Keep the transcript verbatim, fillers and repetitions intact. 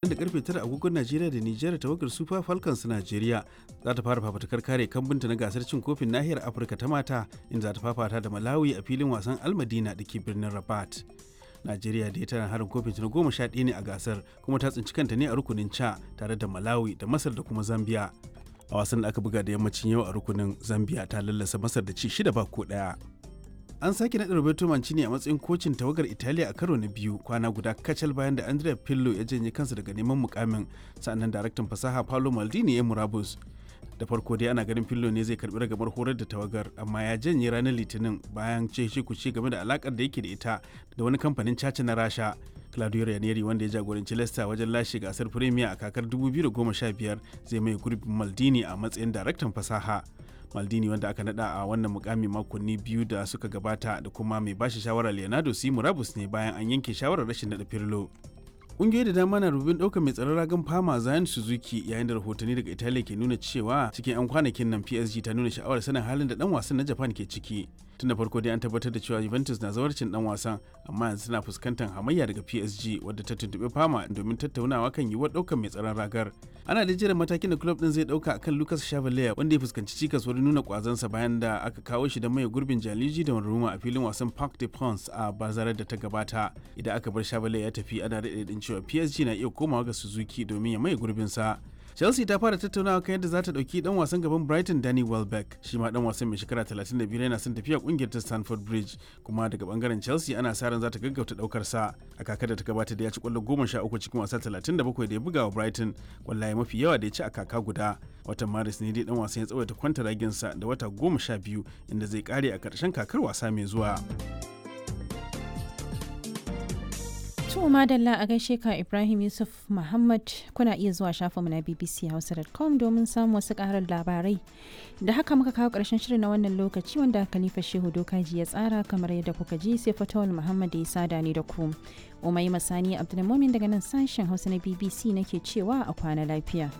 Da karfe tara agogon Najeriya da Nijar, tawagar Super Falcons Najeriya za ta fara fafutukar kare kambunta na gasar cin kofin nahiyar Afirka ta mata, inda za ta fafata da Malawi a filin wasan Almadina da ke birnin Rabat. Najeriya da tana harin kofin ta na goma sha ɗaya ne a gasar, kuma ta tsinci kanta ne a rukunin ca tare da Malawi da Masar da kuma Zambia. A wasan da aka buga da yammacin yau a rukunin, Zambia ta lallasa Masar da ci shida ba ko ɗaya. An sake naɗa Roberto Mancini a matsayin kocin tawagar Italiya a karo na biyu, kwana guda kacal bayan da Andrea Pirlo ya janye kansa daga neman mukamin, sannan daraktan fasaha Paolo Maldini ya murabus. Da farko dai ana ganin Pirlo ne zai karbi ragamar horar da tawagar, amma ya janye ranar Litinin bayan ce kuce game da alakar da yake da ita da wani kamfanin caca na Rasha. Claudio Ranieri, wanda ya jagoranci Leicester wajen lashe gasar Premier a kakar dubu biyu da goma sha biyar, zai mai gurbin Maldini a matsayin daraktan fasaha. Maldini, wanda aka nada a wannan mukami makonni biyu da suka gabata, da kuma mai bashi shawara Leonardo C murabus ne bayan an yanke shawarar rashin nada Pirlo. Ƙungiyoyi da dama na rubin ɗaukar mai tsaron ragan Fama Zion Suzuki, yayin da rahotanni daga Italiya ke nuna cewa cikin 'yan kwanakin nan P S G ta nuna sha'awar sanin halin da dan wasan na Japan ke ciki. Tun da farko dai an tabbatar da cewa Juventus na zawarcin dan wasan, amma yanzu tana fuskantar hamayya daga P S G, wadda ta tuntuɓi Fama domin tattaunawa kan yiwuwar ɗaukar mai tsaron ragar. Ana da jiran matakin da club din zai ɗauka akan Lucas Chevalier, wanda ya fuskanci cikas wurin nuna kwazansa bayan da aka kawo shi da mai gurbin Gianluigi Donnarumma a filin wasan Parc des Princes a bazarar da ta gabata. Idan aka bar Chevalier ya tafi, ana daɗe cewa P S G na iya komawa ga Suzuki domin ya maye gurbinsa. Chelsea ta fara tattaunawa kan yadda za ta ɗauki ɗan wasan gaban Brighton Danny Welbeck. Shi ma ɗan wasan mai shekara talatin da biyar yana son tafiya ƙungiyar ta Stamford Bridge, kuma daga bangaren Chelsea ana sa ran za ta gaggauta ɗaukar sa. A kakar da ta gabata da ya ci ƙwallo goma sha uku cikin wasa talatin da bakwai da ya buga wa Brighton, ƙwallaye mafi yawa da ya ci a kaka guda. Watan Maris ne dai ɗan wasan ya tsawaita kwantaraginsa da wata goma sha biyu, inda zai kare a ƙarshen kakar wasa mai zuwa. To madalla, a gaishe ka Ibrahim Yusuf Muhammad. Kuna iya zuwa shafinmu na B B C Hausa dot com domin samun wasu ƙarin labarai. Da haka muka kawo ƙarshen shirin na wannan lokaci, wanda Khalifa Shehu Dokaji ya tsara kamar yadda kuka ji, sai Fatawul Muhammad ya sada ni da ku. Umai Masani Abdulmumin daga nan sashen Hausa na B B C nake cewa a kwana lafiya.